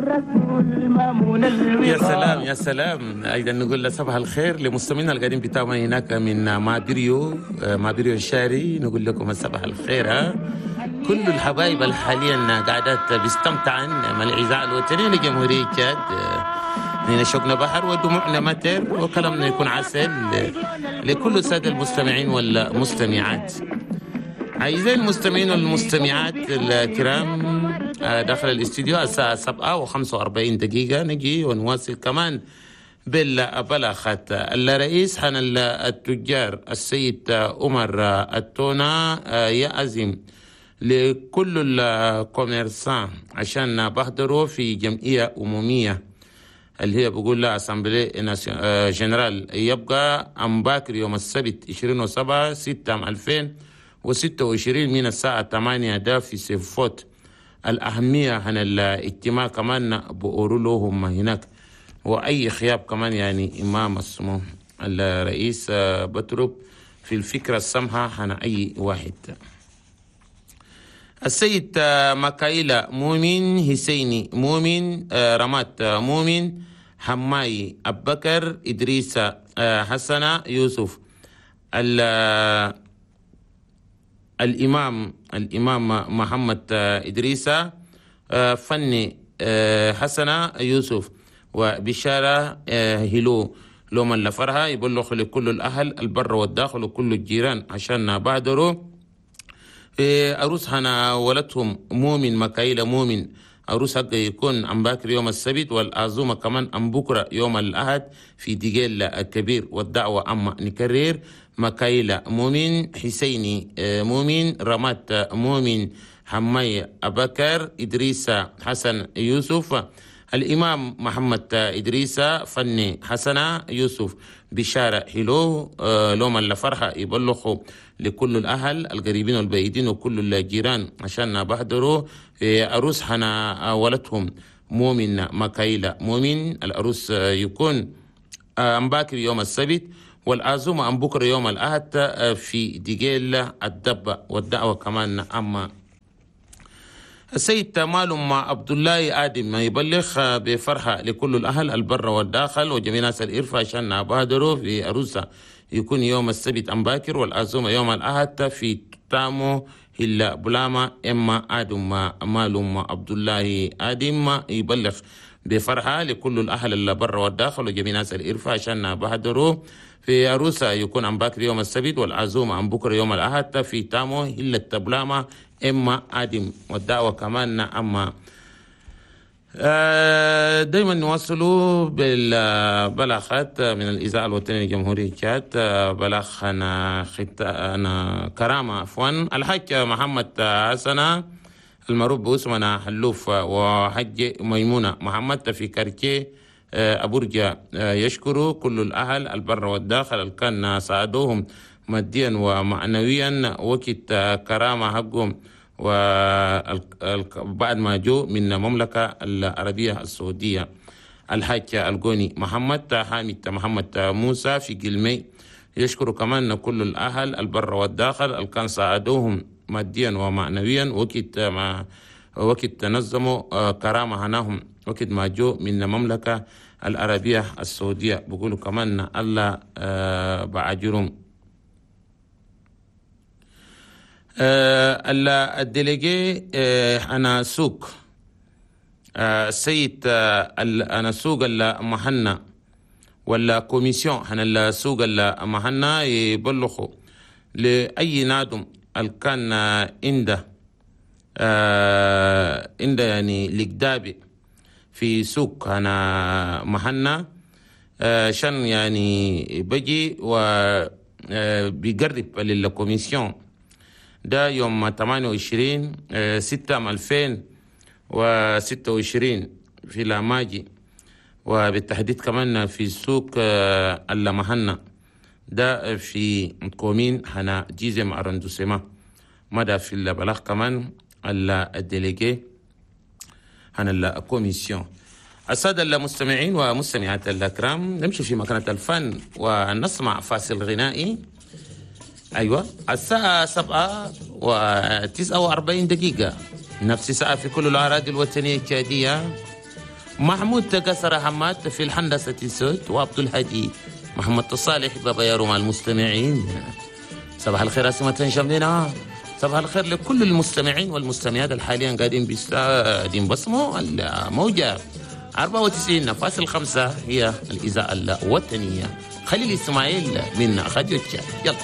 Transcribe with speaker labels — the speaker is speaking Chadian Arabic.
Speaker 1: يا سلام يا سلام. ايضا نقول صباح الخير لمستمعينا القاعدين بتاعنا هناك من مابريو، مابريو الشاري، نقول لكم صباح الخير. ها كل الحبايب اللي حاليا قاعدات بيستمتعن مع الاذاعة الوطنية لجمهوريه تشاد. نحن شوقنا بحر ودموعنا متر وكلامنا يكون عسل لكل السادة المستمعين والمستمعات. أعزائي المستمعين والمستمعات الكرام، داخل الاستديو الساعة 7:45 نجي ونواصل كمان بالبلاغات. الرئيس حن التجار السيد عمر التونا يعزم لكل ال commerçants عشان بحضروا في جمعية عمومية اللي هي بقول لها assemblée générale، يبقى أم باكر يوم السبت 27/6/2026 من الساعة 8 ده في سيفوت. الأهمية عن الاجتماع كمان بقولوا لهم هناك، وأي خياب كمان يعني إمام اسمه الرئيس بترب في الفكرة السمحة عن أي واحد. السيد مكايلا مؤمن حسيني مؤمن رمات مؤمن حماي أبكر إدريس حسنة يوسف الإمام محمد إدريس فني حسنة يوسف وبشارة هلو لوما لفرها يبلغ لكل الأهل البر والداخل وكل الجيران عشان بادروا في أروس هنا ولدهم مؤمن مكايلة مؤمن. أروس حق يكون أم باكر يوم السبت، والعزومة كمان أم بكرة يوم الأحد في ديجيل الكبير. والدعوة أما نكرر مكايلة مؤمن حسيني مؤمن رمات مؤمن حماي أبكر إدريس حسن يوسف الإمام محمد إدريس فني حسنة يوسف بشارة حلو لوما لفرحة يبلغوا لكل الأهل القريبين والبعيدين وكل الجيران عشان بحضروا في أروس حنا ولدهم مؤمن مكايلة مؤمن. الأروس يكون أم باكر يوم السبت والعزومة أم بكرة يوم الأحد في ديجيل الدبة. والدعوة كمان أما السيد مالهم عبد الله آدم يبلغ بفرحة لكل الأهل البر والداخل وجميع ناس الإرفة عشان بادروا في أروسا يكون يوم السبت أم باكر والعزومة يوم الأحد في تامو هلا بلاما إما آدم مالهم عبد الله آدم يبلغ بفرحة لكل الأهل البر والداخل وجميع ناس الإرفة عشان بادروا في أروسا يكون أم باكر يوم السبت والعزومة أم بكرة يوم الأحد في تامو هلا تبلاما إما آدم. والدعوة كمان أما دايما نواصلوا بالبلاغات من الإذاعة الوطنية لجمهورية تشاد. بلاغ أنا كرامة عفوا الحاج محمد حسنة المعروف باسمنا حلوف وحج ميمونة محمد في كارتيه أبورجا يشكر كل الأهل البر والداخل اللي كان ساعدوهم ماديا ومعنويا وقت كرامة حقهم وبعد ما جو من المملكة العربية السعودية. الحاج القوني محمد حامد محمد موسى في قلمي يشكر كمان كل الأهل البر والداخل اللي كان ساعدوهم ماديا ومعنويا وقت تنظموا كرامة هناهم وقت ما جو من المملكة العربية السعودية. بقولوا كمان الله بعجرهم. ال délégué أنا سوق السيد أنا سوق المهنا ولا commission هنا السوق المهنا يبلغوا لأي نادم اللي كان عنده يعني لقدابي في سوق أنا مهنا شان يعني بجي وبيقرب لل commission ده يوم 28/6/2026 في لاماجي، وبالتحديد كمان في سوق اللمهنة ده في commune هنا dixième arrondissement. مدى في البلاغ كمان ال délégué هنا ال commission. السادة المستمعين ومستمعات الأكرام، نمشي في مكانة الفن ونسمع فاصل غنائي. أيوة الساعة 7:49، نفس ساعة في كل الأراضي الوطنية التشادية. محمود كسر حماد في الهندسة الصوت، وعبد الهادي محمد الصالح بابا يارو مع المستمعين. صباح الخير أسمة شمدنا، صباح الخير لكل المستمعين والمستمعات الحاليا قاعدين بسمعوا الموجة 94.5، هي الإذاعة الوطنية. خليل إسماعيل من راديو تشاد، يلا.